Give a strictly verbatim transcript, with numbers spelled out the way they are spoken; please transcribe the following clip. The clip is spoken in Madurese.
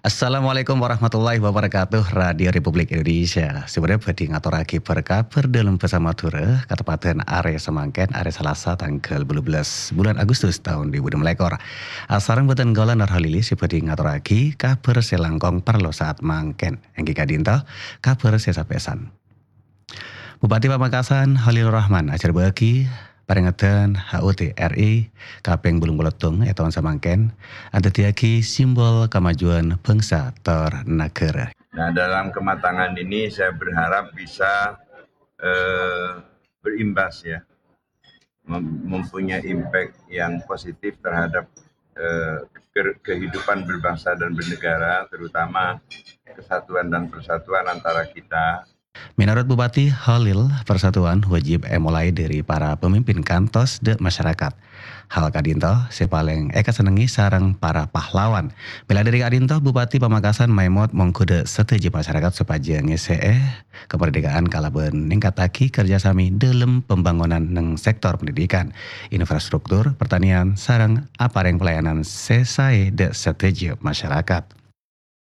Assalamualaikum warahmatullahi wabarakatuh, Radio Republik Indonesia. Sè bâdâ bhâdhi ngatorraghi bâr-kabhâr dâlem bhâsa Madhurâ, kateppadhân arè samangkèn, arè Salasa tangghâl bâllu bellâs bulân Agustus taon dhu èbu ennem lèkor. Asareng bhâdhân kaulâ Nur Halili sè bhâdhi ngatorraghi kabhâr sè langkong parlo saat mangkèn. Èngghi ka'dinto kabhâr sè sapèsan. Bupati Pamekasan Khalil Rahman ajhârbâ'âghi parèngedhân H U T R I kapèng bâllung polo settong è taon samangkèn, adhâddhiyâghi simbol kamajuwân bhângsa tor naghârâ. Nah, dalam kematangan ini saya berharap bisa, eh, berimbas ya, mem-, mempunyai impact yang positif terhadap, eh, ke-, kehidupan berbangsa dan bernegara, terutama kesatuan dan persatuan antara kita. Menurut Bupati Khalil, persatuan wajib èmolaè dâri para pemimpin kantos dâ' masyarakat. Hal ka'dinto sè palèng èkasennengngè sareng para pahlawan. Mèla dâri ka'dinto, Bupati Pamekasan maèmot mongghu dâ' sadhâjâ masyarakat sopajâ ngèssè'è kamardhikaan kalabân ningkataghi kerjasama dâlem pembangunan neng sektor pendidikan, infrastruktur, pertanian, sareng aparèng pelayanan sè saè dâ' sadhâjâ masyarakat.